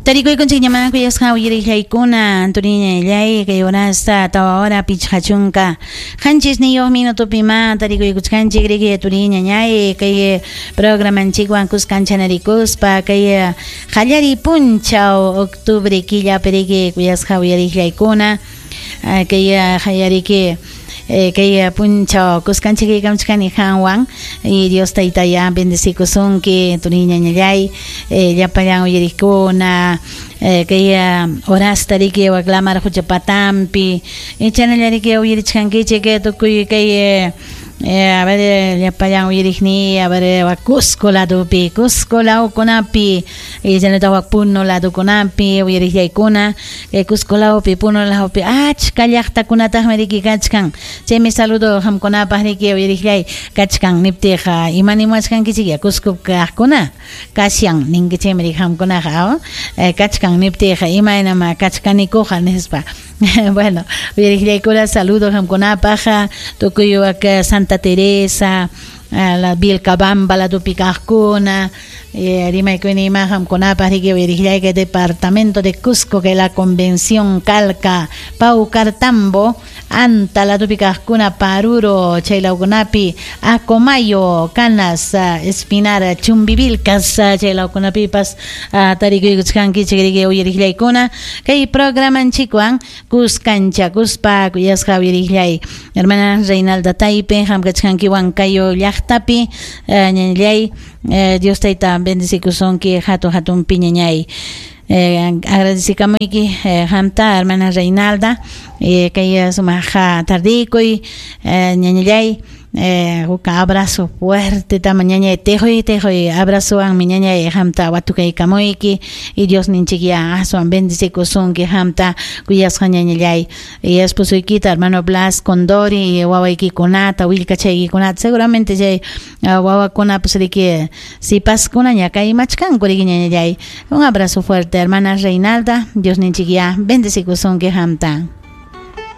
Tarikuykunchikñamá kuyasqa uyariqllaykuna Antoniñallay kay horasta 4 hora 57 minutopimá tarikuykuchkanchik riki turiñañay kay programanchikwan kuskanchanarikuspa kay qallariy punchaw octubre killapi riki kuyasqa uyariqllaykuna kay qallariki kay punchaw kuskanchik kaykamchkani qanwan y Dios taytaya bendecikusunki turiñañallay llapallan uyariqkuna kay horasta riki waklamar quchapatampi chanalla riki uyarichkankichik tukuy kay a ver llapallan uyariqniy a ver Cusco ladopi Cusco lawkunapi chaynataq wak Puno ladokunapi uyariqllaykuna Cusco lawpi Puno lawpi achka llaqtakunataqmi riki kachkan chaymi saludo qamkunapaq riki uyariqllay kachkan niptiqa imanimuwachkankichik ya Cusco kaqkuna kashan ninkichikmi riki qamkunaqa kachkan niptiqa imaynama kachkanikuqa nispa. Bueno, uyariqllaykuna saludo qamkunapaq tukuy wak Santa Teresa la Vilcabamba ladopi kaqkuna rimaykuni ima qamkunapaq riki uyariqllay kay departamento de Cusco kay la Convención Calca Paucartambo Anta ladopi kaqkuna Paruro chay lawkunapi Acomayo Canas Espinar Chumbivilcas chay lawkunapipas tarikuykuchkankichik riki uyariqllaykuna kay programanchikwan kuskanchakuspa kuyasqa uyariqllay hermana Reinalda Taype qam kachkanki Huancayo llaqtapi ñañallay Dios tayta bendecikusunki hatun hatun piñañay agradecikamuyki qamta hermana Reinalda kay sumaq tardikuy ñañallay huk abrazo fuerte tama ñañay tejoy tejoy abrazowanmi ñañay qamta watukaykamuyki y Dios ninchikya aswan bendecikusunki qamta kuyasqa ñañallay y esposoykita hermano Blas Condori wawaykikunata willkachaykikunata seguramente chay wawakunapas riki sipaskunaña kaymachkanku riki ñañallay un abrazo fuerte hermana Reinalda Dios ninchikya bendecikusunki qamta.